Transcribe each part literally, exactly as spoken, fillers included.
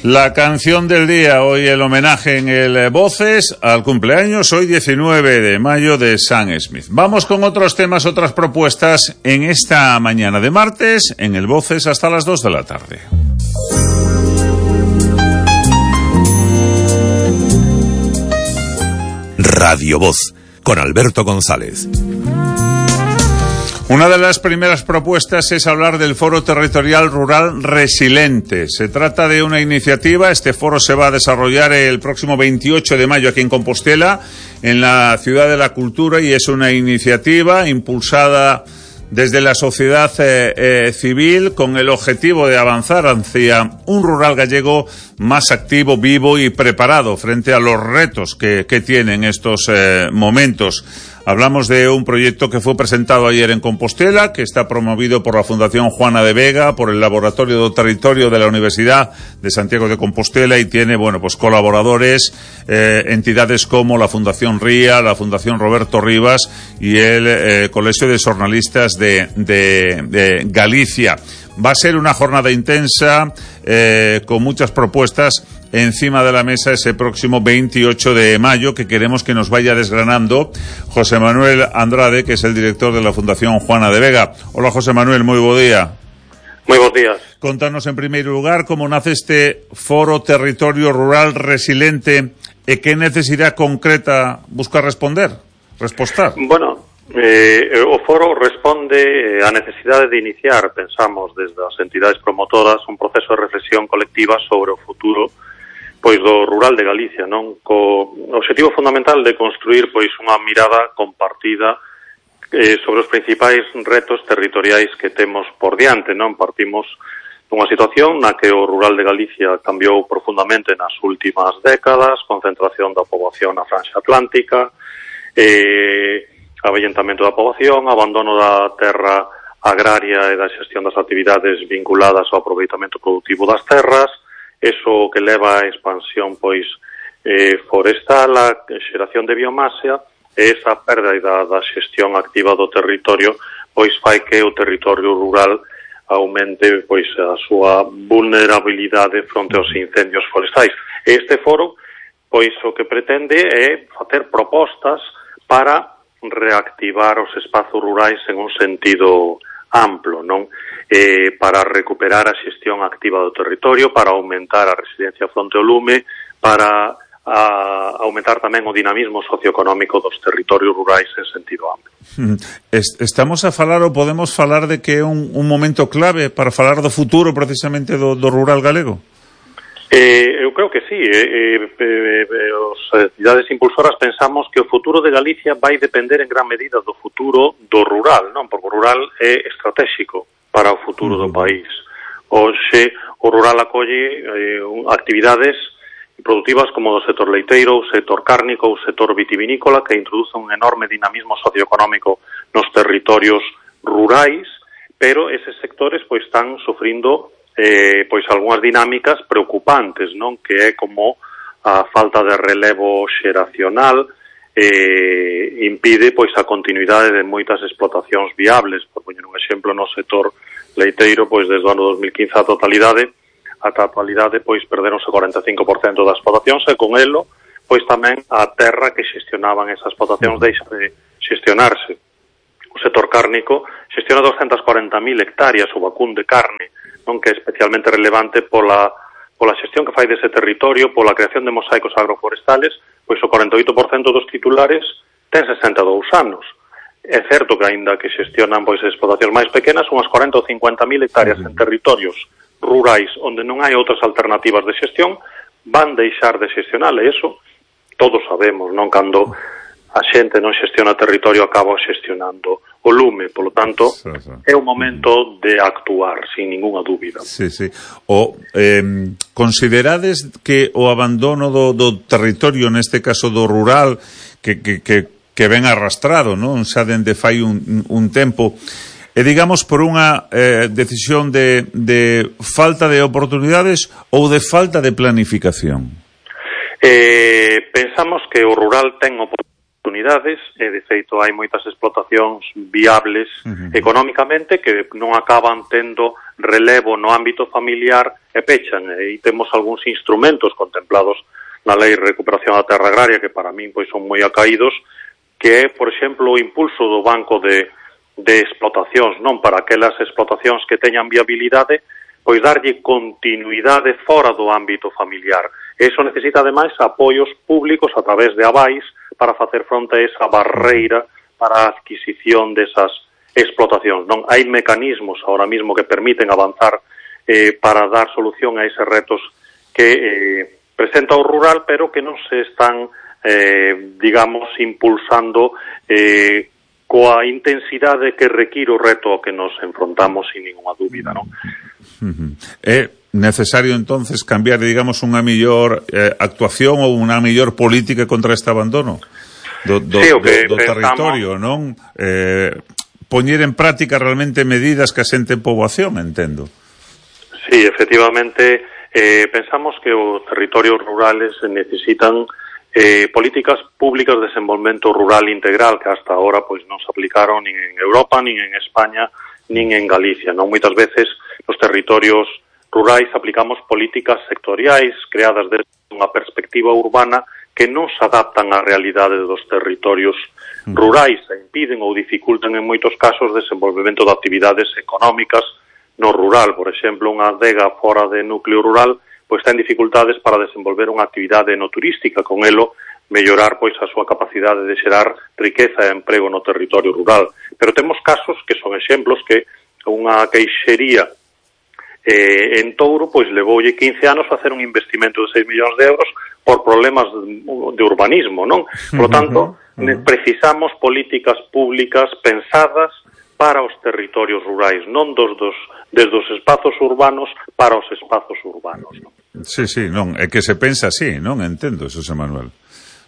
La canción del día, hoy el homenaje en el Voces al cumpleaños, hoy diecinueve de mayo, de Sam Smith. Vamos con otros temas, otras propuestas en esta mañana de martes, en el Voces hasta las dos de la tarde. Radio Voz, con Alberto González. Una de las primeras propuestas es hablar del Foro Territorial Rural Resiliente. Se trata de una iniciativa, este foro se va a desarrollar el próximo veintiocho de mayo aquí en Compostela, en la Ciudad de la Cultura, y es una iniciativa impulsada desde la sociedad eh, eh, civil con el objetivo de avanzar hacia un rural gallego más activo, vivo y preparado frente a los retos que, que tienen estos eh, momentos. Hablamos de un proyecto que fue presentado ayer en Compostela, que está promovido por la Fundación Juana de Vega, por el Laboratorio do Territorio de la Universidad de Santiago de Compostela, y tiene, bueno, pues colaboradores, eh, entidades como la Fundación Ría, la Fundación Roberto Rivas y el eh, Colegio de Xornalistas de, de, de Galicia. Va a ser una jornada intensa, eh, con muchas propuestas encima de la mesa ese próximo veintiocho de mayo, que queremos que nos vaya desgranando José Manuel Andrade, que es el director de la Fundación Juana de Vega. Hola, José Manuel, moi bo día. Moi bons días. Contanos en primeiro lugar como nace este Foro Territorio Rural Resiliente e que necesidade concreta busca responder, respostar. Bueno, eh, o foro responde á necesidade de iniciar, pensamos, desde as entidades promotoras, un proceso de reflexión colectiva sobre o futuro pois do rural de Galicia, non? Co obxectivo fundamental de construir pois unha mirada compartida eh, sobre os principais retos territoriais que temos por diante, non? Partimos dunha situación na que o rural de Galicia cambiou profundamente nas últimas décadas, concentración da poboación na franxa atlántica, eh, avellentamento da poboación, abandono da terra agraria e da xestión das actividades vinculadas ao aproveitamento productivo das terras, eso que leva a expansión pois eh, forestal, a xeración de biomasa, e esa perda da, da xestión activa do territorio pois fai que o territorio rural aumente pois a súa vulnerabilidade fronte aos incendios forestais. Este foro pois o que pretende é facer propostas para reactivar os espazos rurais en un sentido amplo, non? Eh, para recuperar a xestión activa do territorio, para aumentar a resiliencia fronte ao lume, para a, aumentar tamén o dinamismo socioeconómico dos territorios rurais en sentido amplo. Estamos a falar ou podemos falar de que é un, un momento clave para falar do futuro precisamente do, do rural galego? Eh, eu creo que sí. Eh, eh, eh, os entidades impulsoras pensamos que o futuro de Galicia vai depender en gran medida do futuro do rural, non? Porque o rural é estratégico para o futuro do país. Hoxe o rural acolle eh, actividades productivas como do sector leiteiro, o sector cárnico, o sector vitivinícola, que introduce un enorme dinamismo socioeconómico nos territorios rurais, pero eses sectores pois están sufrindo eh, pois algunhas dinámicas preocupantes, non? Que é como a falta de relevo xeracional eh, impide pois a continuidade de moitas explotacións viables. Por poñer un exemplo, no sector leiteiro, pois desde o ano dos mil quince a totalidade, ata a actualidade, pois perderonse o cuarenta e cinco por cento das explotacións, e con elo, pois tamén a terra que xestionaban esas explotacións deixa de xestionarse. O sector cárnico xestiona doscientas cuarenta mil hectáreas o vacún de carne, non, que é especialmente relevante pola, pola xestión que fai dese territorio, pola creación de mosaicos agroforestales, pois o cuarenta e oito por cento dos titulares ten sesenta e dous anos. É certo que aínda que xestionan pois explotacións máis pequenas, unhas cuarenta ou cincuenta mil hectáreas en territorios rurais onde non hai outras alternativas de xestión, van deixar de xestionar, e iso todos sabemos, non? Cando a xente non xestiona territorio, acaba xestionando o lume, polo tanto, sí, sí. É o momento de actuar, sin ninguna dúbida. Sí, sí. O, eh, considerades que o abandono do, do territorio, neste caso do rural, que, que, que, que ven arrastrado, non? Xa dende fai un, un tempo, e digamos por unha eh, decisión de, de falta de oportunidades ou de falta de planificación? Eh, pensamos que o rural ten oportunidades oportunidades e, de feito, hai moitas explotacións viables uh-huh. económicamente que non acaban tendo relevo no ámbito familiar e pechan. E temos algúns instrumentos contemplados na Lei de Recuperación da Terra Agraria que para min pois son moi acaídos, que é, por exemplo, o impulso do banco de, de explotacións, non para aquelas explotacións que teñan viabilidade, pois darlle continuidade fora do ámbito familiar. Eso necesita, ademais, apoios públicos a través de avais para facer fronte a esa barreira para a adquisición desas explotacións. Non hai mecanismos ahora mismo que permiten avanzar eh, para dar solución a eses retos que eh, presenta o rural, pero que non se están, eh, digamos, impulsando eh, coa intensidade que require o reto ao que nos enfrontamos sin ninguna dúbida, non? É necesario entonces cambiar, digamos, unha mellor eh, actuación ou unha mellor política contra este abandono do, do, sí, do, do territorio, non? Eh, poñer en práctica realmente medidas que asenten poboación, entendo. Sí, efectivamente, eh, pensamos que os territorios rurales necesitan eh, políticas públicas de desenvolvemento rural integral que hasta ahora pois non se aplicaron nin en Europa, nin en España, nin en Galicia, non? Moitas veces nos territorios rurais aplicamos políticas sectoriais creadas desde unha perspectiva urbana que non se adaptan á realidade dos territorios rurais e impiden ou dificultan en moitos casos o desenvolvemento de actividades económicas no rural. Por exemplo, unha adega fora de núcleo rural pois ten dificultades para desenvolver unha actividade no turística, con elo mellorar pois a súa capacidade de xerar riqueza e emprego no territorio rural. Pero temos casos que son exemplos que unha queixería eh, en Touro pois levoulle quince anos facer un investimento de seis millóns de euros por problemas de, de urbanismo, non? Por lo tanto, uh-huh, uh-huh. precisamos políticas públicas pensadas para os territorios rurais, non dos, dos, desde os espazos urbanos para os espazos urbanos, non? Sí, sí, non, é que se pensa así, non? Entendo, Xosé Manuel.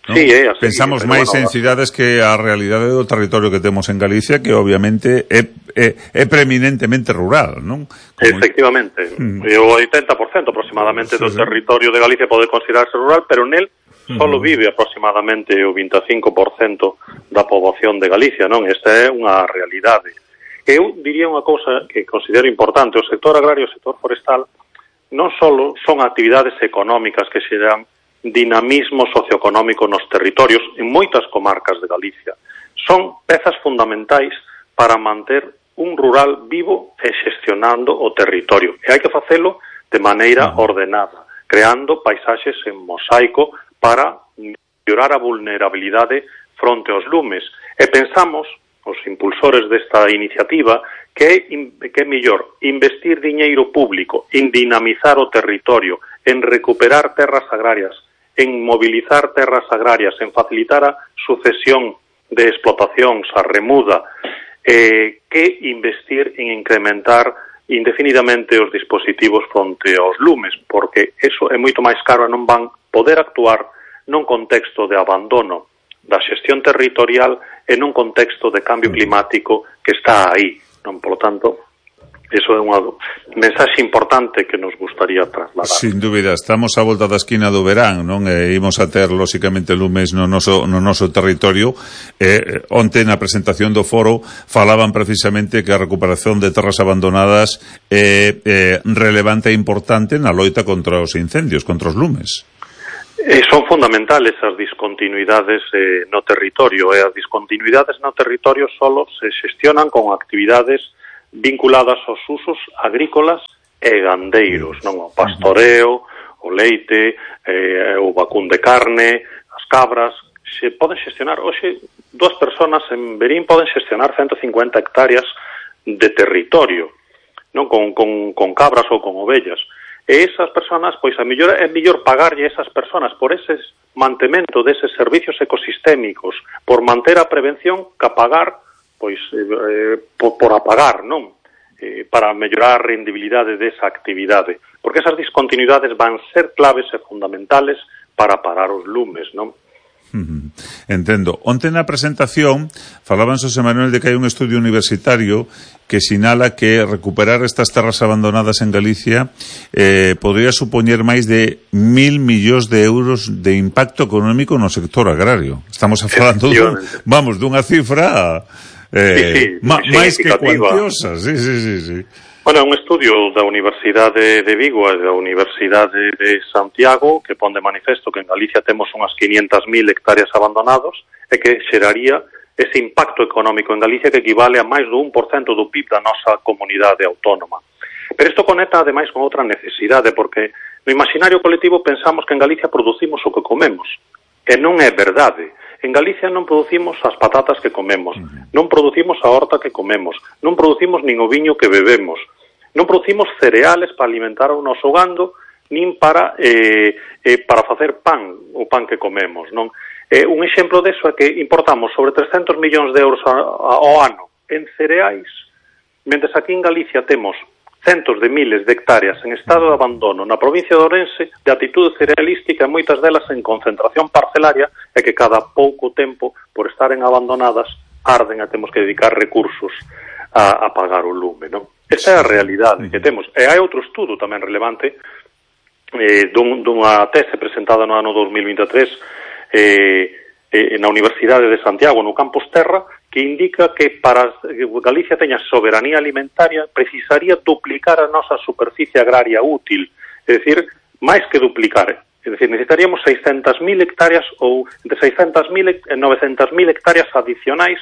¿No? Sí, é así. Pensamos máis bueno, en cidades que a realidade do territorio que temos en Galicia, que obviamente é, é, é preeminentemente rural, non? Como... Efectivamente. Mm. O oitenta por cento aproximadamente sí, do sí. territorio de Galicia pode considerarse rural, pero nel solo vive aproximadamente o vinte e cinco por cento da poboación de Galicia, non? Esta é unha realidade. Eu diría unha cousa que considero importante. O sector agrario e o sector forestal non só son actividades económicas que se dan dinamismo socioeconómico nos territorios en moitas comarcas de Galicia. Son pezas fundamentais para manter un rural vivo e xestionando o territorio. E hai que facelo de maneira ordenada, creando paisaxes en mosaico para mellorar a vulnerabilidade fronte aos lumes. E pensamos, os impulsores desta iniciativa, que é, que é mellor investir diñeiro público en dinamizar o territorio, en recuperar terras agrarias, en mobilizar terras agrarias, en facilitar a sucesión de explotacións, a remuda, eh, que investir en incrementar indefinidamente os dispositivos fronte aos lumes, porque eso é moito máis caro e non van poder actuar nun contexto de abandono da xestión territorial e nun contexto de cambio climático que está aí. Non, por lo tanto, eso é unha mensaxe importante que nos gustaría trasladar. Sin dúbida, estamos á volta da esquina do verán, non? E imos a ter, lóxicamente, lumes no noso, no noso territorio. E, onte, na presentación do foro, falaban precisamente que a recuperación de terras abandonadas é, é relevante e importante na loita contra os incendios, contra os lumes. Eh, son fundamentales as discontinuidades eh, no territorio, e as discontinuidades no territorio solo se xestionan con actividades vinculadas aos usos agrícolas e gandeiros, non? O pastoreo, o leite, eh, o vacún de carne, as cabras, se poden xestionar. Hoxe, dúas persoas en Verín poden xestionar ciento cincuenta hectáreas de territorio, non? Con, con, con cabras ou con ovellas. E esas persoas, pois, a mellor é mellor pagarlle a esas persoas por ese mantemento deses servicios ecosistémicos, por manter a prevención, que a pagar pois eh, por, por apagar, non? Eh, para mellorar a rendibilidade desa actividade. Porque esas discontinuidades van ser claves e fundamentales para parar os lumes, non? Uh-huh. Entendo. Onte na presentación falaban, Xosé Manuel, de que hai un estudio universitario que sinala que recuperar estas terras abandonadas en Galicia eh, podría supoñer máis de mil millóns de euros de impacto económico no sector agrario. Estamos falando dun, vamos, dunha cifra eh, sí, sí, ma, máis que cuantiosa. Sí, sí, sí, sí. Bueno, é un estudio da Universidade de Vigo e da Universidade de Santiago que pon de manifesto que en Galicia temos unhas quinientas mil hectáreas abandonados e que xeraría ese impacto económico en Galicia que equivale a máis do un por cento do P I B da nosa comunidade autónoma. Pero isto conecta ademais con outra necesidade, porque no imaginario colectivo pensamos que en Galicia producimos o que comemos, e non é verdade. En Galicia non producimos as patatas que comemos, non producimos a horta que comemos, non producimos nin o viño que bebemos, non producimos cereales para alimentar o noso gando, nin para eh, eh, para facer pan, o pan que comemos, non? Eh, un exemplo deso é que importamos sobre trescentos millóns de euros ao ano en cereais, mentres aquí en Galicia temos centos de miles de hectáreas en estado de abandono na provincia de Ourense de atitude cerealística e moitas delas en concentración parcelaria e que cada pouco tempo, por estaren abandonadas, arden e temos que dedicar recursos a, a pagar o lume, non? Esa é a realidade que temos. E hai outro estudo tamén relevante eh, dun, dunha tese presentada no ano dos mil vinte e tres eh, eh, na Universidade de Santiago, no Campus Terra, que indica que para que Galicia teña soberanía alimentaria precisaría duplicar a nosa superficie agraria útil, é dicir, máis que duplicar, é dicir, necesitaríamos seiscentas mil hectáreas ou entre seiscentas mil e novecentas mil hectáreas adicionais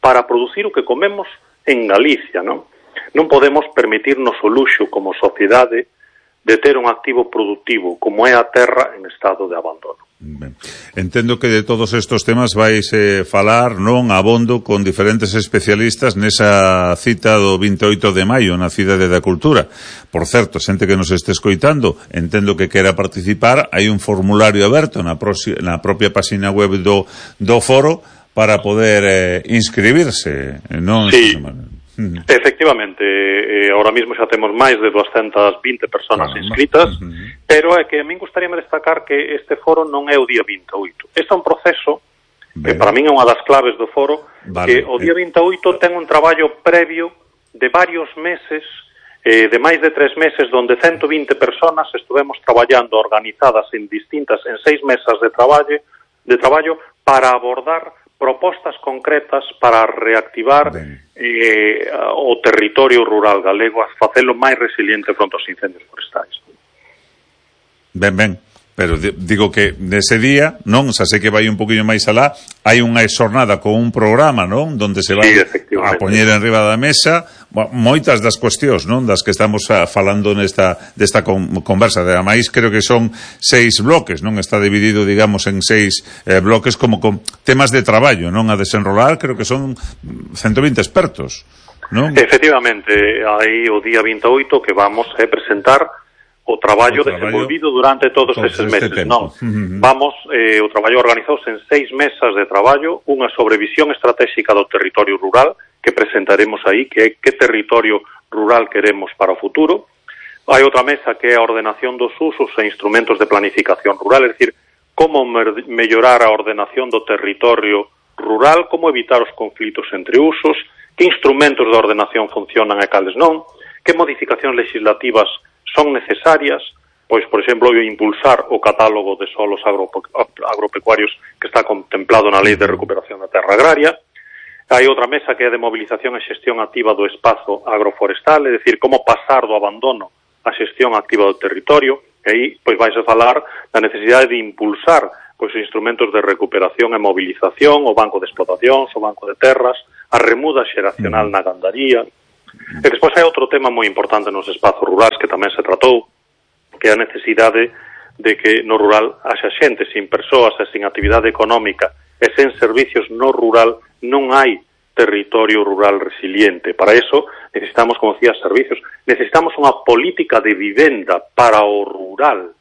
para producir o que comemos en Galicia, non? Non podemos permitirnos o luxo como sociedade de ter un activo productivo como é a terra en estado de abandono. Ben. Entendo que de todos estos temas vais eh, falar, non, abondo con diferentes especialistas nesa cita do vinte e oito de maio na Cidade da Cultura. Por certo, xente que nos este escoitando, entendo que quera participar, hai un formulario aberto na, prosi- na propia página web do, do foro para poder eh, inscribirse, non? Sí. Uh-huh. Efectivamente, eh, ahora mismo xa temos máis de doscientas vinte personas inscritas, uh-huh. Pero é que a min gustaríame destacar que este foro non é o día vinte e oito. Este é un proceso que para min é unha das claves do foro, vale. Que o día vinte e oito ten un traballo previo de varios meses, eh, de máis de tres meses, donde ciento vinte personas estuvemos traballando organizadas en distintas, en seis mesas de traballo, de traballo para abordar propostas concretas para reactivar eh, o territorio rural galego, a facelo máis resiliente fronte aos incendios forestais. Ben, ben, pero digo que nese día, non, xa sei que vai un poquinho máis alá, hai unha xornada con un programa, non, donde se vai sí, a poñer en riba da mesa moitas das cuestións, non, das que estamos falando nesta desta conversa. Ademais, creo que son seis bloques, non, está dividido, digamos, en seis eh, bloques como con temas de traballo, non, a desenrolar, creo que son ciento vinte expertos, non? Efectivamente, aí o día vinte e oito que vamos a presentar o traballo, o traballo desenvolvido durante todos eses meses, este non? Uh-huh. Vamos, eh, o traballo organizouse en seis mesas de traballo, unha sobre visión estratégica do territorio rural, que presentaremos aí, que é que territorio rural queremos para o futuro. Hai outra mesa que é a ordenación dos usos e instrumentos de planificación rural, é dicir, como mer- mellorar a ordenación do territorio rural, como evitar os conflitos entre usos, que instrumentos de ordenación funcionan e cales non, que modificacións legislativas son necesarias, pois, por exemplo, impulsar o catálogo de solos agropecuarios que está contemplado na Lei de Recuperación da Terra Agraria. Hai outra mesa que é de mobilización e xestión activa do espazo agroforestal, é dicir, como pasar do abandono á xestión activa do territorio, e aí pois vais a falar da necesidade de impulsar pois instrumentos de recuperación e movilización, o banco de explotacións, o banco de terras, a remuda xeracional na gandaría. E despois hai outro tema moi importante nos espazos rurais que tamén se tratou, que é a necesidade de que no rural haxa xente sin persoas e sin actividade económica e sen servicios no rural non hai territorio rural resiliente. Para eso necesitamos, como decía, servicios. Necesitamos unha política de vivenda para o rural,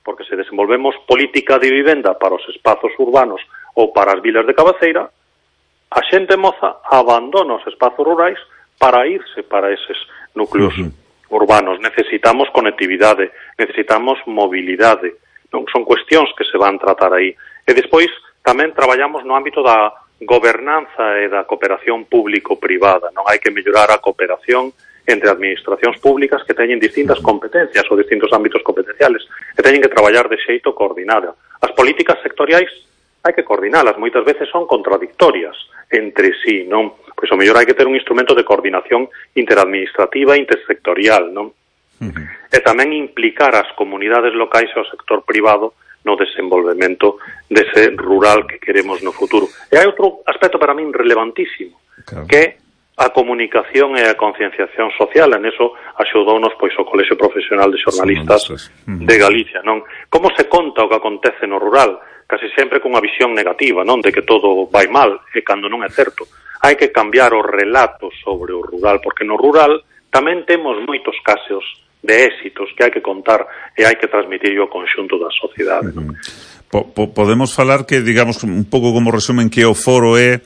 porque se desenvolvemos política de vivenda para os espazos urbanos ou para as vilas de cabeceira, a xente moza abandona os espazos rurais para irse para eses núcleos uh-huh. urbanos. Necesitamos conectividade, necesitamos mobilidade. Non son cuestións que se van tratar aí. E despois tamén traballamos no ámbito da gobernanza e da cooperación público-privada. Non hai que mellorar a cooperación entre administracións públicas que teñen distintas competencias ou distintos ámbitos competenciales e teñen que traballar de xeito coordinado. As políticas sectoriais hai que coordinalas, moitas veces son contradictorias entre sí, non? Pois o mellor hai que ter un instrumento de coordinación interadministrativa e intersectorial, non? Uh-huh. E tamén implicar as comunidades locais e o sector privado no desenvolvemento dese rural que queremos no futuro. E hai outro aspecto para min relevantísimo, claro, que é a comunicación e a concienciación social. En eso axudounos pois o Colexio Profesional de Xornalistas uh-huh. de Galicia, non? Como se conta o que acontece no rural? Casi sempre cunha visión negativa, non? De que todo vai mal, e cando non é certo. Hai que cambiar os relatos sobre o rural, porque no rural tamén temos moitos casos de éxitos que hai que contar e hai que transmitir ao conxunto da sociedade. Uh-huh. po, po, podemos falar que, digamos, un pouco como resumen, que o foro é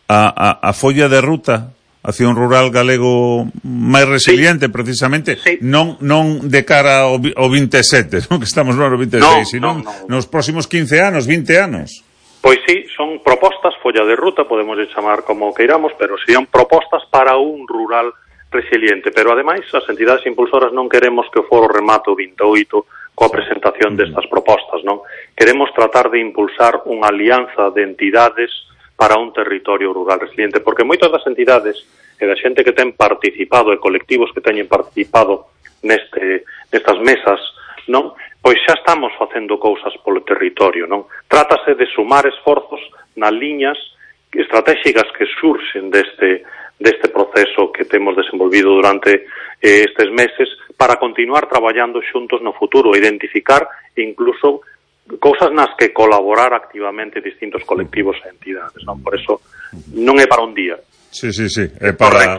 a, a, a folla de ruta hacia un rural galego máis resiliente, sí, precisamente, sí, non non de cara ao, ao veintesete, non? Que estamos no ano veintiséis, no, sino no, no, nos próximos quince anos, vinte anos. Pois sí, son propostas, folla de ruta, podemos chamar como queiramos, pero serían propostas para un rural resiliente, pero ademais as entidades impulsoras non queremos que o foro remate o vinte e oito coa presentación destas propostas, non? Queremos tratar de impulsar unha alianza de entidades para un territorio rural resiliente, porque moitas das entidades e da xente que ten participado e colectivos que teñen participado neste nestas mesas, non? Pois xa estamos facendo cousas polo territorio, non? Trátase de sumar esforzos nas liñas estratégicas que surxen deste deste proceso que temos desenvolvido durante eh, estes meses para continuar traballando xuntos no futuro, identificar incluso cousas nas que colaborar activamente distintos colectivos e entidades, non? Por eso non é para un día. Sí, sí, sí, é para,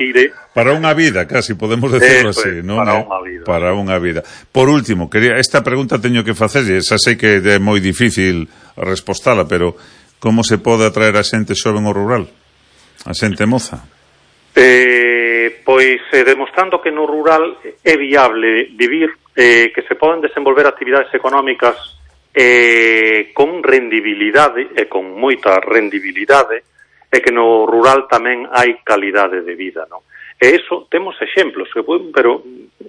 para unha vida, casi podemos decirlo así, non? Para unha vida. Para unha vida. Por último, quería, esta pregunta teño que facer, e xa sei que é moi difícil respostala, pero como se pode atraer a xente xoven ao rural? A xente moza? Eh, pois eh, demostrando que no rural é viable vivir, eh, que se poden desenvolver actividades económicas eh, con rendibilidade e con moita rendibilidade, e que no rural tamén hai calidade de vida, non? E iso temos exemplos, que, pero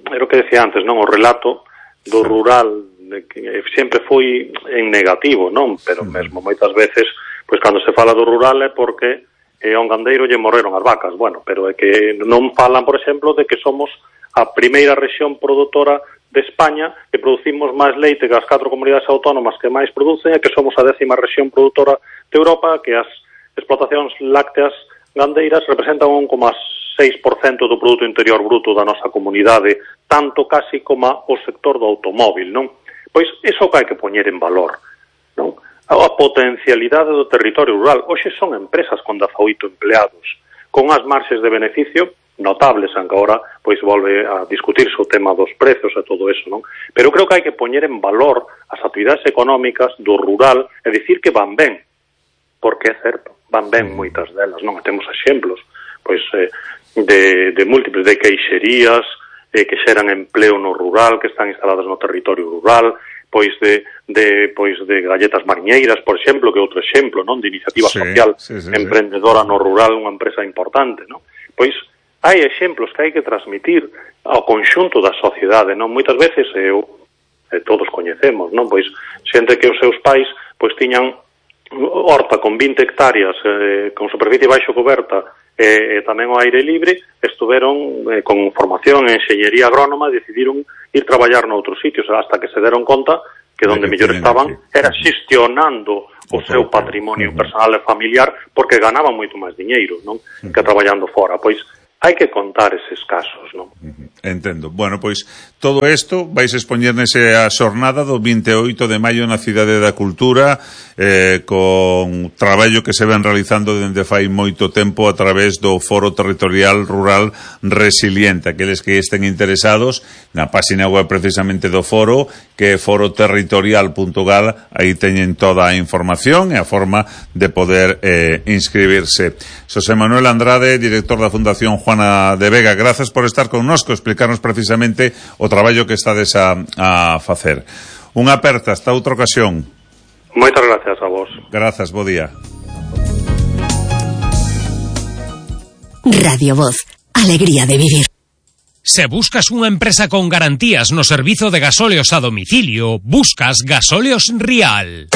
era o que decía antes, non? O relato do rural que sempre foi en negativo, non? Pero mesmo moitas veces, pois cando se fala do rural é porque e a un gandeiro lle morreron as vacas, bueno, pero é que non falan, por exemplo, de que somos a primeira rexión produtora de España, que producimos máis leite que as catro comunidades autónomas que máis producen, e que somos a décima rexión produtora de Europa, que as explotacións lácteas gandeiras representan un coma seis por cento do produto interior bruto da nosa comunidade, tanto casi como o sector do automóvil, non? Pois iso que hai que poñer en valor, non? A potencialidade do territorio rural. Hoxe son empresas con dezaoito empleados, con as marxes de beneficio notables, aunque agora pois volve a discutirse o tema dos prezos e todo eso, non? Pero creo que hai que poñer en valor as actividades económicas do rural e dicir que van ben, porque é certo, van ben moitas delas, non? E temos exemplos, pois, eh, de, de múltiples, de queixerías, eh, que xeran empleo no rural, que están instaladas no territorio rural, pois de, de pois de galletas mariñeiras, por exemplo, que é outro exemplo, non, de iniciativa sí, social sí, sí, emprendedora sí. no rural, unha empresa importante, non? Pois hai exemplos que hai que transmitir ao conxunto da sociedade, non? Moitas veces eu, eh, todos coñecemos, non? Pois xente que os seus pais pois tiñan horta con vinte hectáreas eh, con superficie baixo coberta e eh, tamén ao aire libre, estuveron eh, con formación en enxeñería agrónoma, decidiron ir traballar noutros sitios, hasta que se deron conta que donde mellor estaban era xestionando o seu patrimonio personal e familiar, porque ganaban moito máis diñeiro, non? Que traballando fora. Pois hai que contar eses casos, non? Entendo. Bueno, pois todo isto vais expoñer nese a xornada do vinte e oito de maio na Cidade da Cultura, eh, con traballo que se ven realizando dende fai moito tempo a través do Foro Territorial Rural Resiliente. Aqueles que estén interesados na página web precisamente do foro, que é foro territorial punto gal, aí teñen toda a información e a forma de poder eh, inscribirse. Xosé Manuel Andrade, director da Fundación Juana de Vega, grazas por estar connosco, explicarnos precisamente o traballo que estades a, a facer. Unha aperta, hasta outra ocasión. Moitas gracias a vos. Grazas, bo día. Radio Voz, alegría de vivir. Se buscas unha empresa con garantías no servizo de gasóleos a domicilio, buscas Gasóleos Rial.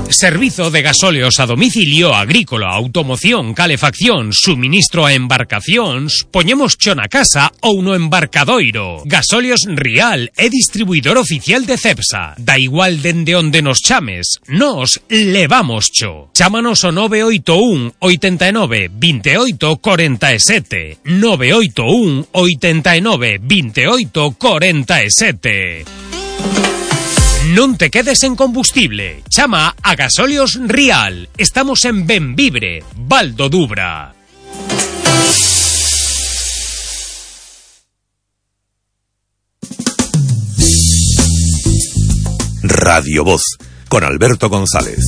Servizo de gasóleos a domicilio agrícola, automoción, calefacción, suministro a embarcacións, poñemos cho na casa ou no embarcadoiro. Gasóleos Rial é distribuidor oficial de Cepsa. Da igual dende onde nos chames, nos levamos cho. Chámanos o nove oito un, oitenta e nove, veintioito, cuarenta e sete. nove oito un, oitenta e nove, veintioito, cuarenta e sete. Non te quedes en combustible. Chama a Gasóleos Rial. Estamos en Benvibre, Val do Dubra. Radio Voz, con Alberto González.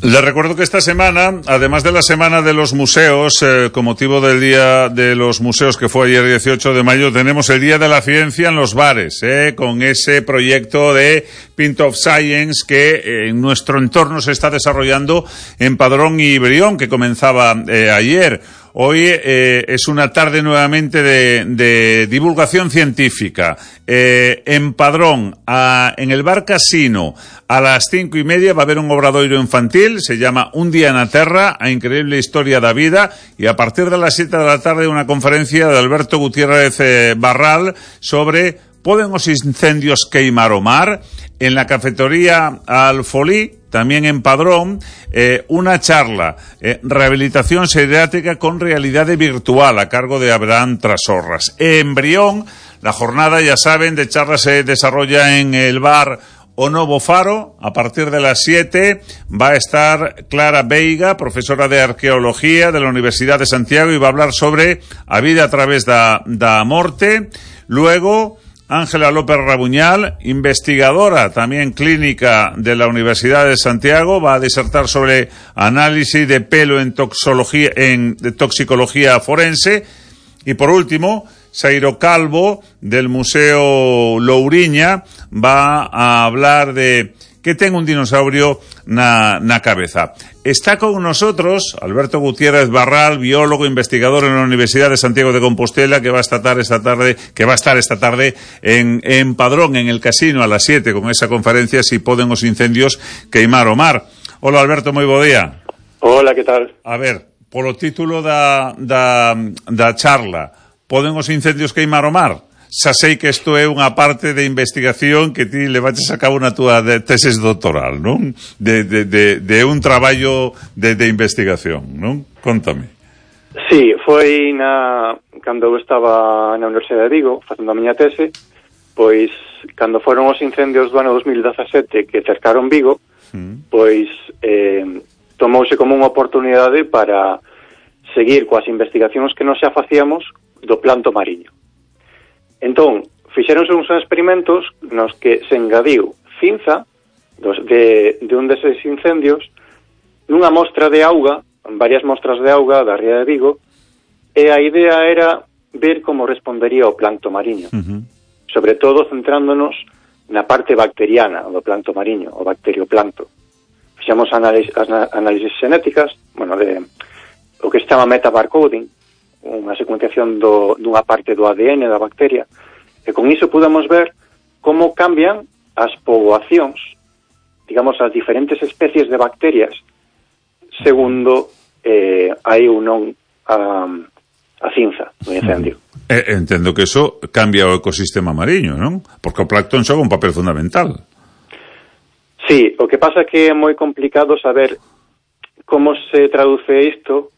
Les recuerdo que esta semana, además de la Semana de los Museos, eh, con motivo del Día de los Museos que fue ayer dieciocho de mayo, tenemos el Día de la Ciencia en los bares, eh, con ese proyecto de Pint of Science que eh, en nuestro entorno se está desarrollando en Padrón y Brión, que comenzaba eh, ayer. Hoy eh, es una tarde nuevamente de, de divulgación científica. Eh, en Padrón, a, en el Bar Casino, a las cinco y media va a haber un obradoiro infantil, se llama Un día na Terra, a increíble historia da vida, y a partir de las siete de la tarde una conferencia de Alberto Gutiérrez eh, Barral sobre ¿poden os incendios queimar o mar? En la cafetería Alfolí, también en Padrón, eh, una charla, eh, rehabilitación pediátrica con realidad virtual a cargo de Abraham Trasorras. En Brión, la jornada, ya saben, de charlas se desarrolla en el bar O Novo Faro. A partir de las siete va a estar Clara Veiga, profesora de Arqueología de la Universidad de Santiago, y va a hablar sobre a vida a través da, da morte. Luego, Ángela López Rabuñal, investigadora también clínica de la Universidad de Santiago, va a disertar sobre análisis de pelo en toxicología, en de toxicología forense. Y por último, Sairo Calvo, del Museo Louriña, va a hablar de que ten un dinosaurio na, na cabeza. Está con nosotros Alberto Gutiérrez Barral, biólogo, investigador en la Universidad de Santiago de Compostela, que va a estar esta tarde, que va a estar esta tarde en, en Padrón, en el casino, a las siete, con esa conferencia Si poden os incendios queimar o mar. Hola, Alberto, moi bo día. Hola, que tal? A ver, polo título da, da, da charla, poden os incendios queimar o mar? Xa sei que isto é unha parte de investigación que ti levaches a cabo na túa tesis doctoral, non? De, de, de, de un traballo de, de investigación, non? Contame. Sí, foi na cando eu estaba na Universidade de Vigo facendo a miña tese, pois cando foron os incendios do ano dos mil dezasete que cercaron Vigo, mm. pois eh, tomouse como unha oportunidade para seguir coas investigacións que nos xa facíamos do planto mariño. Entón, fixéronse uns experimentos nos que se engadiu cinza dos, de, de un deses incendios nunha mostra de auga, varias mostras de auga da ría de Vigo, e a idea era ver como respondería o planto mariño, uh-huh. sobre todo centrándonos na parte bacteriana do planto mariño, o bacterioplanto. Fixemos análisis, análisis xenéticas, bueno, de o que se chama metabarcoding, unha secuenciación do, dunha parte do A D N da bacteria, e con iso pudemos ver como cambian as poboacións, digamos, as diferentes especies de bacterias segundo eh, hai ou non a, a cinza do incendio. Eh, entendo que eso cambia o ecosistema mariño, non? Porque o plancton xoga un papel fundamental. Sí, o que pasa é que é moi complicado saber como se traduce isto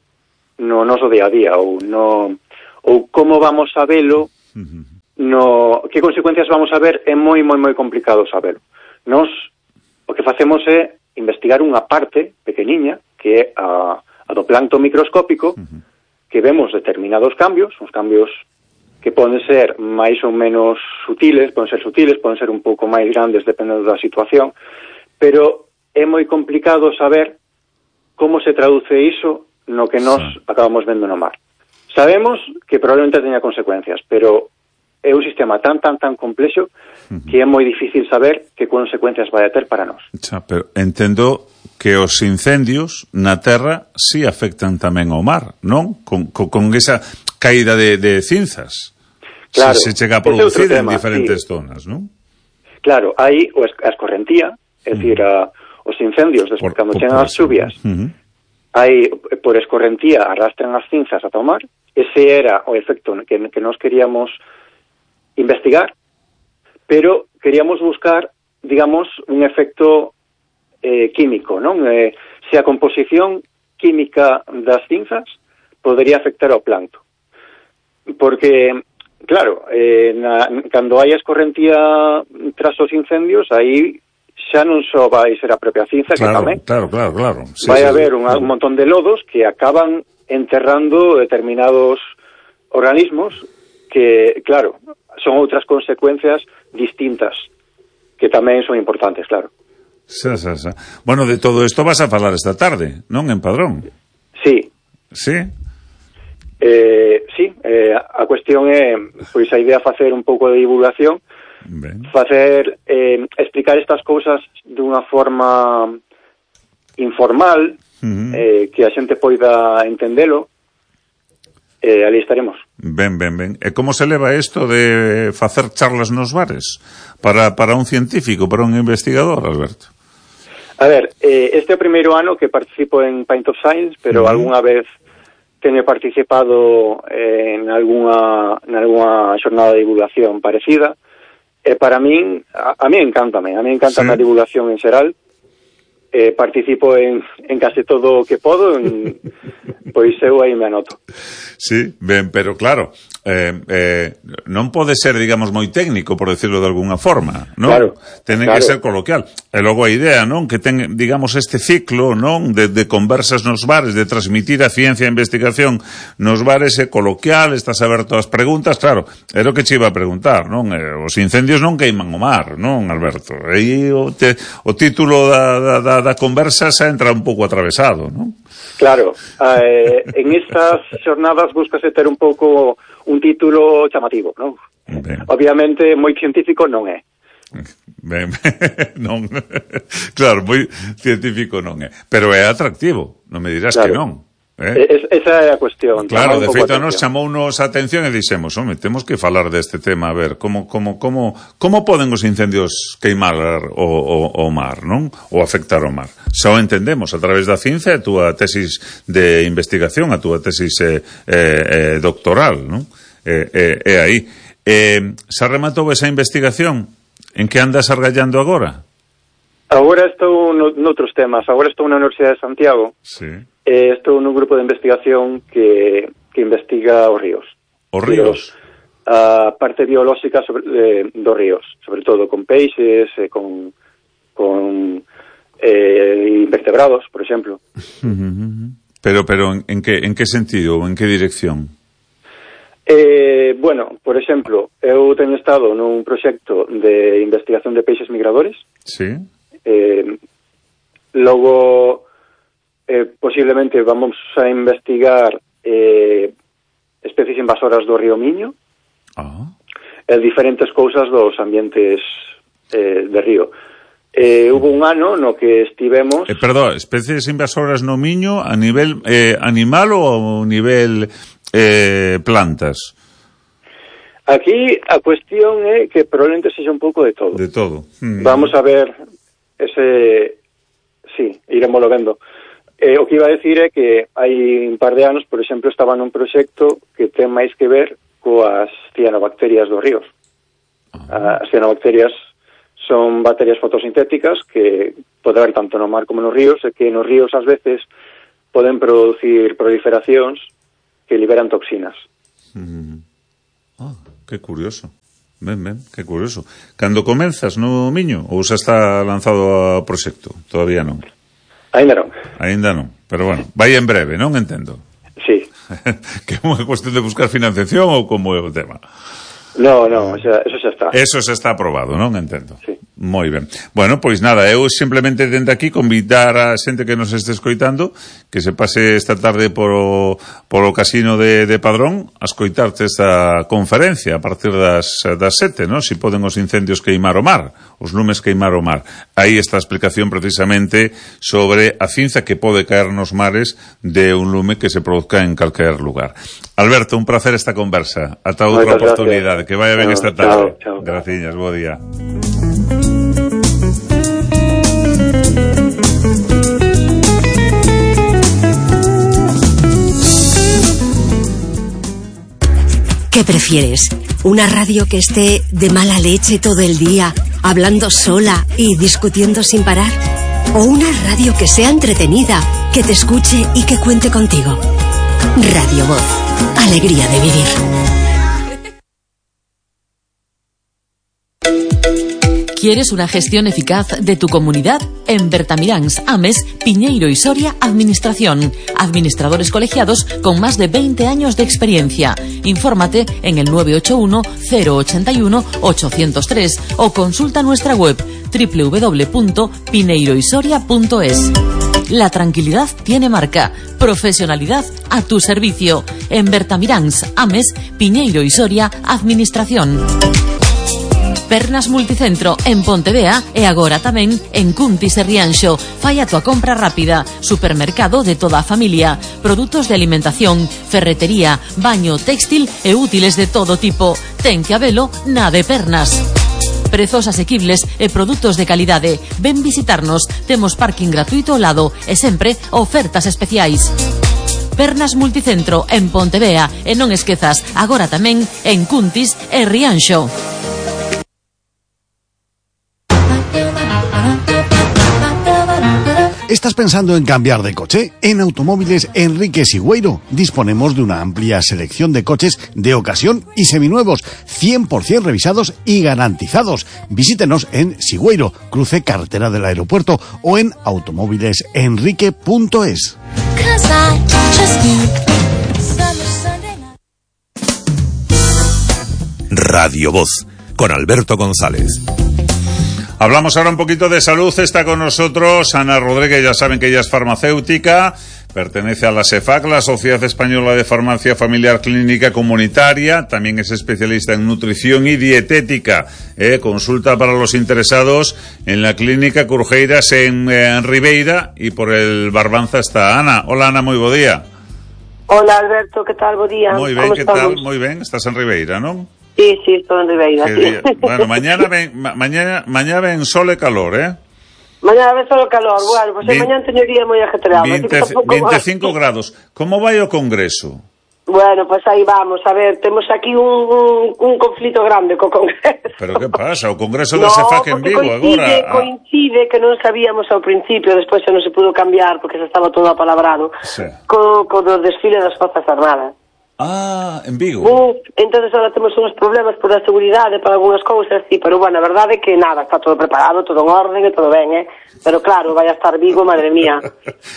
no noso día a día, ou no ou como vamos a velo, no que consecuencias vamos a ver, é moi moi moi complicado sabelo. Nos o que facemos é investigar unha parte pequeniña que é a, a do plancton microscópico, uh-huh. que vemos determinados cambios, uns cambios que poden ser máis ou menos sutiles, poden ser sutiles, poden ser un pouco máis grandes dependendo da situación, pero é moi complicado saber como se traduce iso no que nos sí. acabamos vendo no mar. Sabemos que probablemente teña consecuencias, pero é un sistema tan, tan, tan complexo que é moi difícil saber que consecuencias vai a ter para nós. Xa, pero entendo que os incendios na terra sí afectan tamén ao mar, non? Con, con, con esa caída de, de cinzas. Claro, se, se chega a producir en diferentes sí. zonas, non? Claro, hai a escorrentía, é dicir, a, os incendios, despois, cando chegan as chuvias, uh-huh. hai, por escorrentía, arrastran as cinzas ata o mar. Ese era o efecto que, que nos queríamos investigar, pero queríamos buscar, digamos, un efecto eh, químico, non? Eh, se a composición química das cinzas podería afectar ao plancto. Porque, claro, eh, na, cando hai a escorrentía tras os incendios, aí xa non só vai ser a propia cinza, claro, que tamén claro, claro, claro. Sí, vai sí, haber sí. un, un montón de lodos que acaban enterrando determinados organismos que, claro, son outras consecuencias distintas que tamén son importantes, claro. Xa, xa, xa. Bueno, de todo isto vas a falar esta tarde, non, en Padrón? Sí. Sí? Eh, sí, eh, a cuestión é, pois a idea facer un pouco de divulgación, ben. facer, eh, explicar estas cousas dunha forma informal, uh-huh. eh, que a xente poida entendelo, eh, ali estaremos. Ben, ben, ben. E como se leva isto de facer charlas nos bares para, para un científico, para un investigador, Alberto? A ver, eh, este é o primeiro ano que participo en Pint of Science, pero uh-huh. algunha vez teño participado eh, en algunha, en algunha xornada de divulgación parecida. E para min, a, a mí encántame, a mí encanta sí. a divulgación en xeral. Eh, participo en, en case todo o que podo, en, pois eu aí me anoto. Sí, ben, pero claro, eh, eh, non pode ser, digamos, moi técnico, por decirlo de alguna forma, non? Claro, Ten claro. que ser coloquial. E logo a idea, non? Que ten, digamos, este ciclo, non? De, de conversas nos bares, de transmitir a ciencia e a investigación nos bares é coloquial, estás aberto ás preguntas, claro, era o que che iba a preguntar, non? Eh, os incendios non queiman o mar, non, Alberto? E o, te, o título da, da, da conversa xa entra un pouco atravesado, non? Claro, eh, en estas xornadas búscase ter un pouco un título chamativo, non? Ben. Obviamente moi científico non é. Ben, non. Claro, moi científico non é, pero é atractivo, non me dirás claro. que non. Eh? Es, esa é a cuestión. Claro, de feito nos chamounos a atención e dixemos, home, temos que falar deste tema, a ver, como como como como poden os incendios queimar o, o, o mar, non? Ou afectar o mar. Xa o entendemos a través da ciencia, a túa tesis de investigación, a túa tesis eh, eh, doctoral, non? É eh, eh, eh, aí. Eh, xa rematou esa investigación? En que andas argallando agora? Agora estou no, noutros temas. Agora estou na Universidade de Santiago. Sí. Eh, estou nun grupo de investigación que, que investiga os ríos. Os ríos? A parte biolóxica sobre, eh, dos ríos, sobre todo con peixes, eh, con, con eh, invertebrados, por exemplo. Pero, pero en, en, que, en que sentido, en que dirección? Eh, bueno, por exemplo, eu teño estado nun proxecto de investigación de peixes migradores. Sí. Eh, logo, eh, posiblemente vamos a investigar eh, especies invasoras do río Miño. Ah. E diferentes cousas dos ambientes eh, de río. Eh, hubo un ano no que estivemos... Eh, perdón, especies invasoras no Miño a nivel eh, animal ou a nivel eh, plantas? Aquí a cuestión é que probablemente sexa un pouco de todo. De todo. Mm. Vamos a ver ese... Sí, iremoslo vendo. Eh, o que iba a decir é que hai un par de anos, por exemplo, estaba nun proxecto que ten máis que ver coas cianobacterias dos ríos. Ah. As cianobacterias son bacterias fotosintéticas que pode haber tanto no mar como nos ríos, e que nos ríos ás veces poden producir proliferacións que liberan toxinas. Mm. Ah, que curioso. Ben, ben, que curioso. Cando comenzas no Miño ou xa está lanzado o proxecto? Todavía non. Ainda non. Ainda non, pero bueno, vai en breve, non entendo. Sí. Que é unha cuestión de buscar financiación ou como é o tema? No, no, o sea, eso xa está. Eso xa está aprobado, non entendo. Sí. Moi ben. Bueno, pois nada, eu simplemente dende aquí convidar a xente que nos este escoitando que se pase esta tarde polo, polo casino de, de Padrón a escoitarte esta conferencia a partir das, das sete, non? Si poden os incendios queimar o mar, os lumes queimar o mar. Aí está a explicación precisamente sobre a cinza que pode caer nos mares de un lume que se produzca en calquer lugar. Alberto, un placer esta conversa. Ata outra oportunidade. Que vaya ben esta tarde. Chao, chao. Graciñas, bo día. ¿Qué prefieres? ¿Una radio que esté de mala leche todo el día, hablando sola y discutiendo sin parar? ¿O una radio que sea entretenida, que te escuche y que cuente contigo? Radio Voz. Alegría de vivir. ¿Quieres una gestión eficaz de tu comunidad? En Bertamiráns, Ames, Piñeiro y Soria, Administración. Administradores colegiados con más de veinte años de experiencia. Infórmate en el nueve ocho uno, cero ocho uno, ocho cero tres o consulta nuestra web doble u doble u doble u punto pineiroysoria punto es. La tranquilidad tiene marca. Profesionalidad a tu servicio. En Bertamiráns, Ames, Piñeiro y Soria, Administración. Pernas Multicentro en Pontevea e agora tamén en Cuntis e Rianxo. Fai a tua compra rápida. Supermercado de toda a familia. Produtos de alimentación, ferretería, baño, textil e útiles de todo tipo. Ten que habelo na de Pernas. Prezos asequibles e produtos de calidade. Ven visitarnos. Temos parking gratuito ao lado e sempre ofertas especiais. Pernas Multicentro en Pontevea e non esquezas, agora tamén en Cuntis e Rianxo. ¿Estás pensando en cambiar de coche? En Automóviles Enrique Sigüeiro disponemos de una amplia selección de coches de ocasión y seminuevos, cien por ciento revisados y garantizados. Visítenos en Sigüeiro, cruce carretera del aeropuerto, o en automóviles enrique punto es. Radio Voz, con Alberto González. Hablamos ahora un poquito de salud. Está con nosotros Ana Rodríguez, ya saben que ella es farmacéutica, pertenece a la SEFAC, la Sociedad Española de Farmacia Familiar Clínica Comunitaria, también es especialista en nutrición y dietética. Eh, consulta para los interesados en la Clínica Curjeiras en, eh, en Ribeira, y por el Barbanza está Ana. Hola Ana, muy buen día. Hola Alberto, ¿qué tal? Buen día. Muy bien, ¿qué tal? Muy bien, estás en Ribeira, ¿no? Sí, sí, estoy en Ribeira. Sí. Bueno, mañana ven, ma, mañana, mañana ven sol e calor, ¿eh? Mañana ven sol e calor, bueno, pues Bien, mañana teño día moi ajetreado. veinticinco grados. Como vai o Congreso? Bueno, pues aí vamos, a ver, temos aquí un, un, un conflito grande co Congreso. Pero que pasa? O Congreso da SEFAC en Vigo coincide, agora... Ah. Coincide que non sabíamos ao principio, despois xa non se pudo cambiar porque xa estaba todo apalabrado, sí. co, co do desfile das Forzas Armadas. Ah, en Vigo. Uh, entonces ahora temos uns problemas por a seguridade, para algunhas cousas, sí, pero bueno, a verdade é que nada, está todo preparado, todo en orden e todo ben, eh? Pero claro, vai a estar Vigo, madre mía,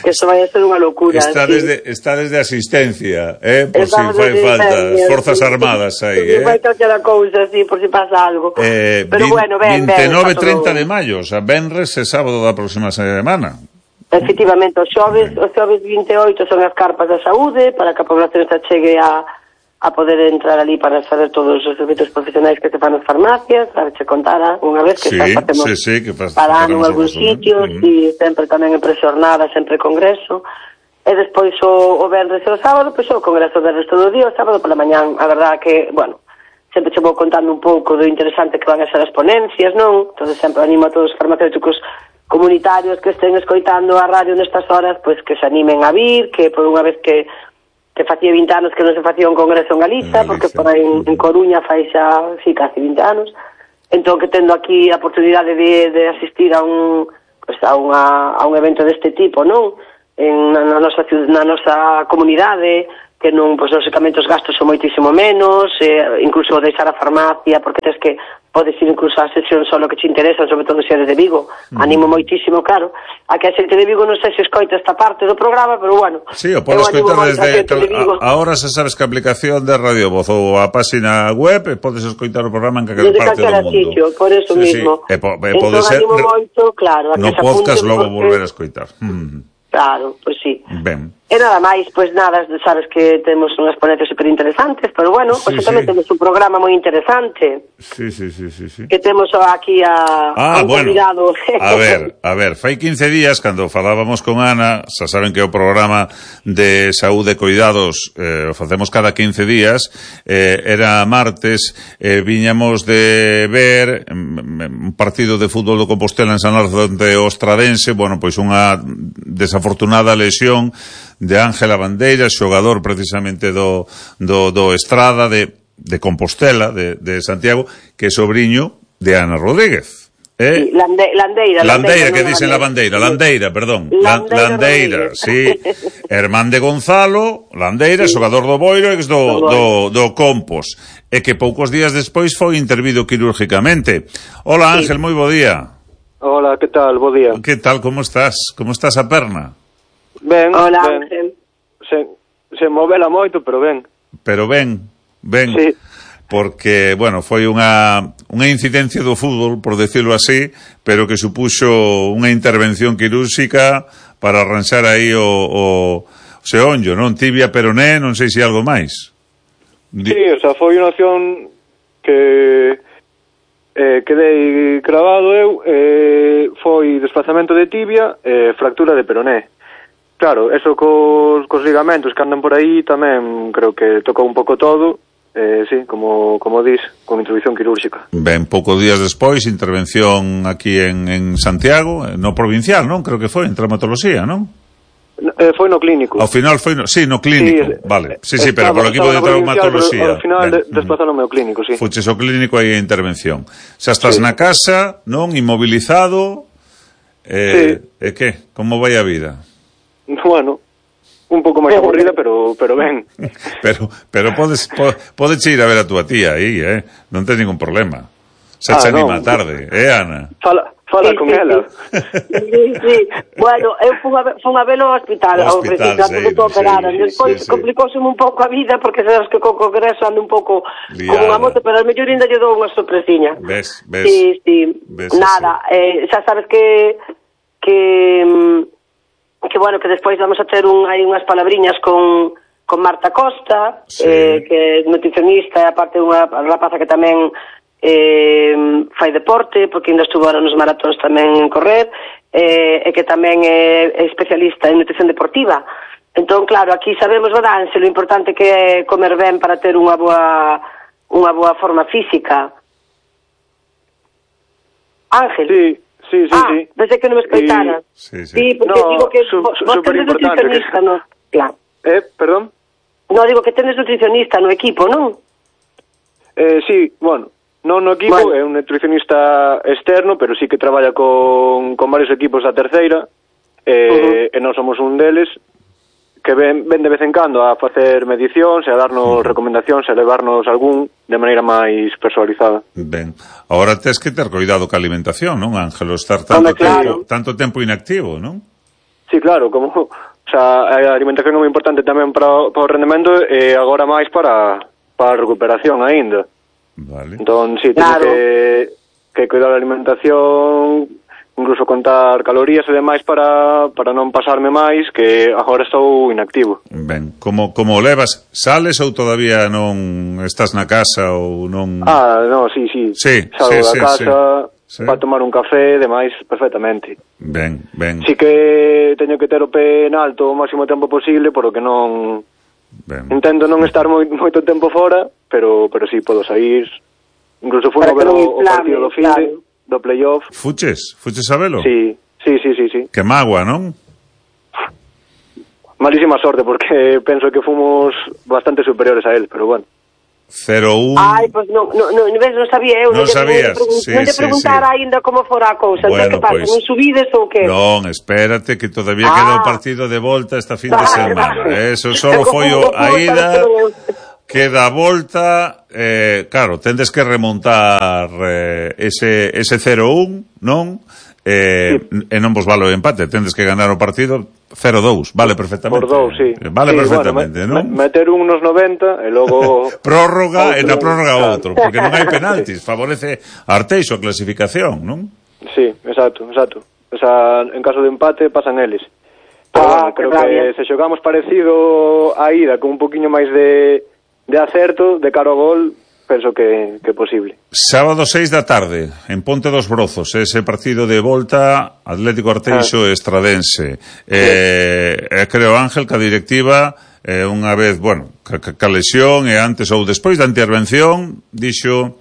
que eso vai a ser unha locura. Está, sí. desde, está desde asistencia, eh? Por si fai falta, Forzas sí. Armadas aí, sí, eh? Vai calquera cousa, sí, por si pasa algo. Eh, pero bueno, ben, ben. veintinueve e treinta de maio, o sea, venres e sábado da próxima semana. Efectivamente, os xoves, os xoves vinte e oito son as carpas da saúde, para que a población se chegue a a poder entrar ali para saber todos os servicios profesionais que se fan nas farmacias, a che contara unha vez que sí, facemos sí, sí, que para en algún sitio, uh-huh. e sempre tamén en prexornada, sempre congreso, e despois o, o venres e o sábado, pois o congreso del resto do día, o sábado pola mañán, a verdad que, bueno, sempre che vou contando un pouco do interesante que van a ser as ponencias, non? Entón sempre animo a todos os farmacéuticos comunitarios que estén escoitando a radio nestas horas, pois que se animen a vir, que por unha vez que que facía vinte anos que non se facía un congreso en Galiza, en Galiza porque por aí en, en Coruña fai xa, sí, casi vinte anos, entón que tendo aquí a oportunidade de, de asistir a un, pues, a, unha, a un evento deste tipo, non? En, na, na, nosa, na nosa comunidade, que non, pois, lógicamente os gastos son moitísimo menos, eh, incluso deixar a farmacia, porque tens que podes ir incluso a sesión solo que te interesan, sobre todo se eres de Vigo. Mm. Animo moitísimo, claro, a que a xente de Vigo non sei se escoita esta parte do programa, pero bueno. Sí, o podes escoitar desde... De ahora se sabes que a aplicación de Radio Voz ou a página web, e podes escoitar o programa en calquera parte do mundo. Sitio, por eso sí, mismo. Sí. E po, e pode entón, ser... Moito, claro, a no podcast logo porque... volver a escoitar. Mm. Claro, pois pues sí. Ben. E nada máis, pois pues nada, sabes que temos unhas ponencias super interesantes, pero bueno, pois pues sí, tamén sí. temos un programa moi interesante. Sí, sí, sí, sí, sí. Que temos aquí a, ah, a un bueno. convidado. A ver, a ver, fai quince días, cando falábamos con Ana, xa saben que o programa de saúde e cuidados eh, o facemos cada quince días, eh, era martes, eh, viñamos de ver un partido de fútbol do Compostela en San Lorenzo de Ostradense, bueno, pois unha desafortunada lesión de Ángela Bandeira, xogador precisamente do, do, do Estrada de, de Compostela, de, de Santiago, que é sobriño de Ana Rodríguez. Eh? Sí, Lande, Landeira, Landeira, que dicen la Bandeira, Landeira, perdón. Landeira, Landeira sí. Hermán de Gonzalo, Landeira, sí. Xogador do Boiro, ex do, do, do Compos. E que poucos días despois foi intervido quirúrgicamente. Hola Ángel, sí. moi bo día. Hola, que tal? Bo día. Que tal, como estás? Como estás a perna? Ben, Hola, ben. Ángel. Se, se movela moito, pero ben. Pero ben, ben. Sí. Porque, bueno, foi unha, unha incidencia do fútbol, por decirlo así, pero que supuxo unha intervención quirúrxica para arranxar aí o, o, o seonllo, non? Tibia, peroné, non sei se algo máis. Sí, o sea, foi unha opción que eh, quedei cravado eu, eh, foi desplazamento de tibia e eh, fractura de peroné. Claro, eso cos, cos ligamentos que andan por aí tamén creo que tocou un pouco todo, eh, sí, como, como dis, con introducción quirúrxica. Ben, poucos días despois, intervención aquí en, en Santiago, no provincial, non? Creo que foi, en traumatoloxía, non? Eh, foi no clínico. Ao final foi no, sí, no clínico, sí, vale. Sí, sí, pero polo equipo de traumatoloxía. Ao final de, desplazado no meu clínico, sí. Fuches ao clínico aí a intervención. Xa estás sí. na casa, non? Inmobilizado. Eh, sí. E que? Como vai a vida? Bueno, un pouco máis aburrida, pero pero ben. Pero pero podes podes ir a ver a túa tía aí, eh? Non ten ningún problema. Se ah, che anima no. tarde, eh, Ana? Fala, fala sí, con sí, ela. Sí, sí. Bueno, eu fui a, fui a velo ao hospital, ao hospital, ao principio, sí, operada. Sí, despois sí, sí. complicouse un pouco a vida, porque sabes que co congreso ando un pouco como unha moto, pero a mellor ainda lle dou unha sorpresiña. Ves, ves. Sí, sí. Ves Nada, eh, xa sabes que que que bueno, que despois vamos a ter un, hai unhas palabriñas con, con Marta Costa, sí. eh, que é nutricionista, e aparte unha rapaza que tamén eh, fai deporte, porque ainda estuvo ahora nos maratóns tamén en correr, eh, e que tamén é, é especialista en nutrición deportiva. Entón, claro, aquí sabemos, Badanse, lo importante que é comer ben para ter unha boa unha boa forma física. Ángel. Sí. Sí, sí, ah, sí. Desde que non me escoitara. Sí, sí. Sí, porque no, digo que su, vos su, tenes nutricionista, que... no? Claro. Eh, perdón? No, digo que tenes nutricionista no equipo, non? Eh, sí, bueno, non no equipo, bueno. É un nutricionista externo, pero sí que traballa con, con varios equipos da terceira, eh, uh-huh. e non somos un deles, que ven, ven de vez en cando a facer medicións, e a darnos uh-huh. recomendacións, e a levarnos algún de maneira máis personalizada. Ben, agora tes que ter cuidado ca alimentación, non, Ángelo? Estar tanto, Hombre, claro. tempo, tanto tempo inactivo, non? Sí, claro, como o sea, a alimentación é moi importante tamén para, para o rendemento e agora máis para, para a recuperación aínda. Vale. Entón, sí, teño claro. que, que cuidar a alimentación, incluso contar calorías e demais para, para non pasarme máis, que agora estou inactivo. Ben, como, como levas? Sales ou todavía non estás na casa ou non... Ah, no, sí, sí. Sí, Salgo sí, da sí, casa sí. para tomar un café e demais perfectamente. Ben, ben. Sí que teño que ter o pé en alto o máximo tempo posible, por o que non... Ben. Intento non estar moi, moito tempo fora, pero pero sí, podo sair. Incluso fui a ver o, o partido do Fide, claro. do playoff. Fuches? Fuches a velo? Sí, sí, sí, sí, sí. Que magua, non? Malísima sorte, porque penso que fomos bastante superiores a él, pero bueno. cero un. Ai, pois non, non, non, non sabía eu. Non sabías, non sí, te sí, preguntara sí. aínda como fora a cousa. Bueno, Entón, que pasa, pois, non subides ou que? Non, espérate, que todavía Ah. queda o partido de volta esta fin de Vale, semana. vale. Eso solo foi o- a ida, queda a volta, eh, claro, tendes que remontar eh, ese, ese cero un, non? Eh, e non vos vale o empate, tendes que ganar o partido cero dous, vale perfectamente. Por dous, sí. Vale Sí, perfectamente, bueno, non? me, meter un nos noventa e logo... Prórroga e na outro, prórroga claro. outro, porque non hai penaltis, favorece a Arteixo a clasificación, non? Sí, exacto, exacto. O sea, en caso de empate pasan eles. Pero Ah, bueno, creo que que rabia. se xogamos parecido a ida, con un poquinho máis de, de acerto, de cara ao gol, penso que, que é posible. Sábado seis da tarde, en Ponte dos Brozos, ese partido de volta Atlético Arteixo e Estradense. Eh, eh, creo, Ángel, que a directiva, eh, unha vez, bueno, ca, ca, ca lesión e antes ou despois da intervención, dixo,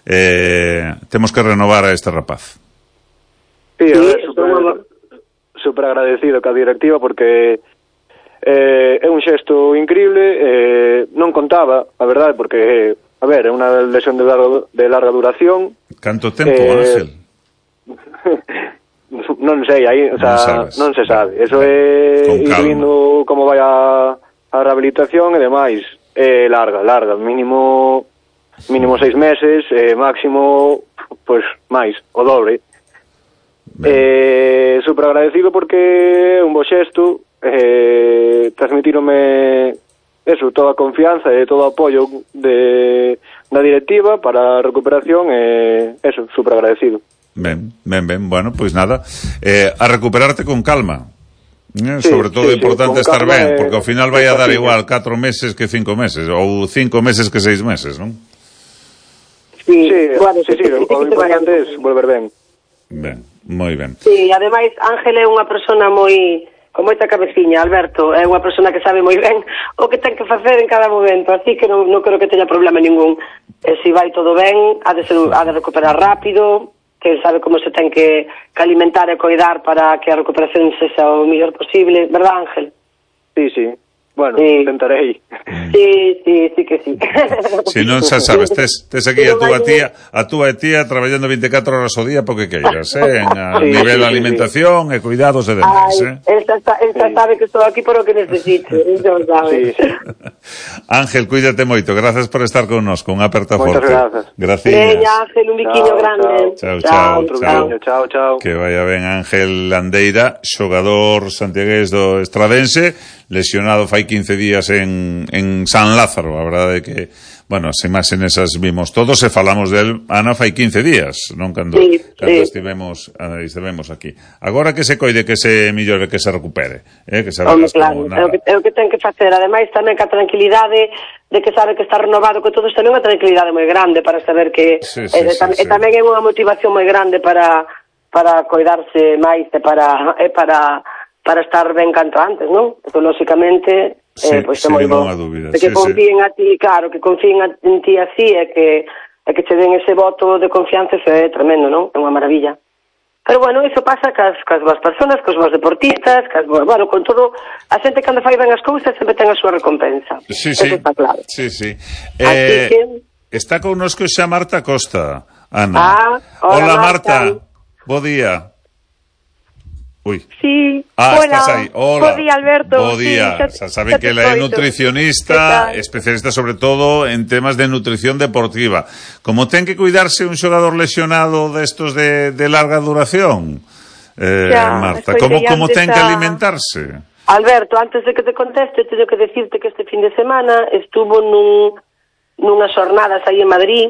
eh, temos que renovar a este rapaz. Sí, Sí, a ver, eso super, é- super agradecido ca directiva porque eh, é un xesto increíble, eh, non contaba, a verdade, porque, a ver, é unha lesión de larga, de larga duración. Canto tempo, Eh, Ángel? non sei, aí, o sea, Non sabes. non se sabe. Eso Con é ir calma. vindo como vai a, a rehabilitación e demais. É larga, larga, mínimo mínimo seis meses, eh, máximo, pois, máis, o doble. Eh, super agradecido porque é un bo xesto, eh, transmitírome eso, toda a confianza e todo o apoio de, da directiva para a recuperación e eso, super agradecido. Ben, ben, ben, bueno, pois nada, eh, a recuperarte con calma. Eh, Sí, sobre todo sí, é importante sí, con estar calma ben, e- porque ao final vai e a dar paciencia. igual catro meses que cinco meses, ou cinco meses que seis meses, non? Sí, Sí, bueno, sí, sí, que- o que te vaya importante é volver ben. Ben, moi ben. Sí, ademais, Ángel é unha persona moi con moita cabeciña, Alberto, é unha persona que sabe moi ben o que ten que facer en cada momento, así que non, non creo que teña problema ningún. E se vai todo ben, ha de, ser, ha de recuperar rápido, que sabe como se ten que, que alimentar e coidar para que a recuperación sexa o mellor posible, verdad, Ángel? Sí, sí. Bueno, Sí. tentarei. Sí, sí, sí que sí. Se non xa sabes, tes, tes aquí a túa tía, a túa tía traballando veinticuatro horas ao día porque queiras, eh, en a Sí, nivel de sí, sí, alimentación e cuidados e demais, Ai, eh. esta, esta sabe que estou aquí por o que necesite, eso sabe. Sí, sí. Ángel, cuídate moito, gracias por estar connosco, unha aperta Moitas forte. grazas. Gracias. Veña, Ángel, un biquiño Chao, grande. chao. Chao, chao, Outro chao. cariño, chao, chao. Que vaya ben Ángel Landeira, xogador santiagués do Estradense, lesionado fai quince días en, en San Lázaro. A verdade é que, bueno, as imaxes esas vimos todos e falamos del, Ana, fai quince días, non cando, Sí, cando sí. estivemos, ah, estivemos aquí. Agora que se coide, que se mellore, que se recupere, eh, que se Home, verás claro, como é o, que, nada. é o que ten que facer. Ademais, tamén que a tranquilidade de que sabe que está renovado, que todo isto é unha tranquilidade moi grande para saber que Sí, sí, e, sí, tam, sí. e tamén é unha motivación moi grande para para coidarse máis e para e para para estar ben canto antes, non? Porque, lóxicamente, Sí, eh, pois é sin moi bo. ninguna dúbida, De sí, que confíen a ti, claro, que confíen a, en ti así e que, e que te den ese voto de confianza, eso é tremendo, non? É unha maravilla. Pero, bueno, iso pasa cas, cas boas personas, cos boas deportistas, cas, bueno, con todo, a xente cando fai ben as cousas sempre ten a súa recompensa. Sí, Eso sí, está claro. sí, sí. Así Eh, que... Está con nosco xa Marta Costa, Ana. Ah, hola, Marta. Marta. Bo día. Uy. Sí, Ah, hola. estás aí. Hola. Bo día, Alberto. Bo día. Sí, xa, xa saben xa que te ela é coito. nutricionista, Que tal? especialista sobre todo en temas de nutrición deportiva. Como ten que cuidarse un xogador lesionado destos de, de larga duración, eh, Xa, Marta, escoitei como, como antes ten que a- alimentarse? Alberto, antes de que te conteste, teño que decirte que este fin de semana estuvo nun, nunhas xornadas aí en Madrid,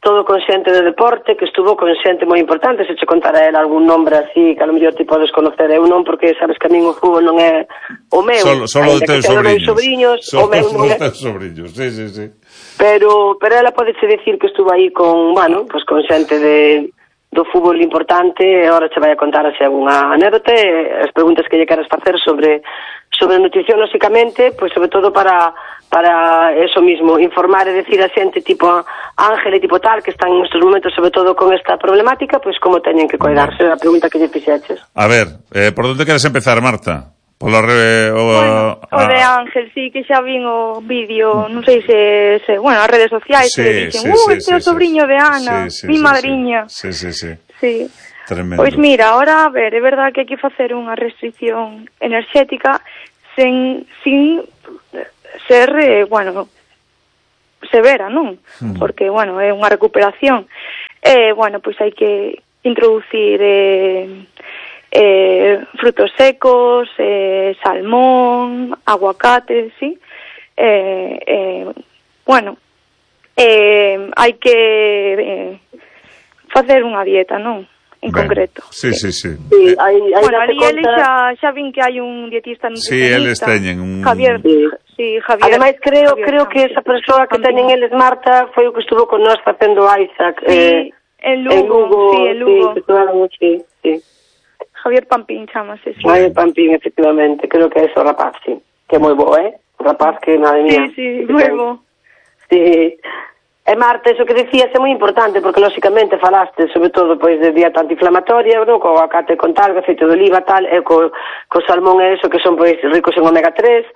todo con xente de deporte, que estuvo con xente moi importante. Se che contara ela algún nombre así, que a lo mellor ti podes conocer, eu non, porque sabes que a min o fútbol non é o meu. Solo, solo de Aínda que teus sea dos sobriños. meus sobriños, Solo o meu non dos é. teus sobriños, sí, sí, sí. Pero, pero ela podeche decir que estuvo aí con, bueno, pues con xente de do fútbol importante, e agora che vai a contar así algunha anécdota, e as preguntas que lle queras facer sobre sobre nutrición, lógicamente, pois sobre todo para para eso mismo, informar e decir a xente tipo Ángel e tipo tal, que están nestes momentos sobre todo con esta problemática, pois como teñen que cuidarse, a pregunta que lle fixeches. A ver, eh, por onde queres empezar, Marta? Pola re, o, bueno, a, o de Ángel, sí, que xa vin o vídeo, non sei se, se bueno, as redes sociais, sí, que dicen, sí, uh, sí, este é sí, o sobrinho sí, de Ana, sí, sí, mi sí, madriña. Sí, sí, sí. Sí. Tremendo. Pois mira, ahora, a ver, é verdad que hai que facer unha restricción enerxética sen, sin ser, eh, bueno, severa, non? Mm. Porque, bueno, é unha recuperación. Eh, bueno, pois hai que introducir eh, eh, frutos secos, eh, salmón, aguacate, sí? Eh, eh, bueno, eh, hai que eh, facer unha dieta, non? En ben, concreto. Sí, sí, sí. sí hai, hai bueno, ali conta... ele xa, xa vin que hai un dietista nutricionista. Sí, eles teñen un... Javier, sí. Sí, Javier. Ademais, creo, Javier creo que esa persoa que teñen eles, Marta, foi o que estuvo con nós facendo Isaac. Sí, eh, en Lugo, en Lugo, sí, en Lugo. Sí, estuvaron, sí, sí. Javier Pampín, chamase, sí. Javier Pampín, efectivamente, creo que é ese o rapaz, sí. Que é moi bo, eh? O rapaz que, madre mía. Sí, sí, moi bo. Sí. E Marta, eso que decías é moi importante, porque lóxicamente falaste sobre todo pois de dieta antiinflamatoria, no? Co aguacate con tal, aceite de oliva, tal, e co, co salmón e eso que son pois ricos en omega tres,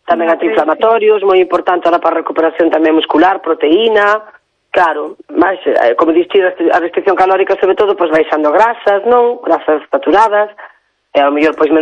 tamén antiinflamatorios, moi importante ahora para a recuperación tamén muscular, proteína, claro, máis, como dixi, a restricción calórica sobre todo, pois baixando grasas, non? Grasas saturadas, e ao mellor pois menos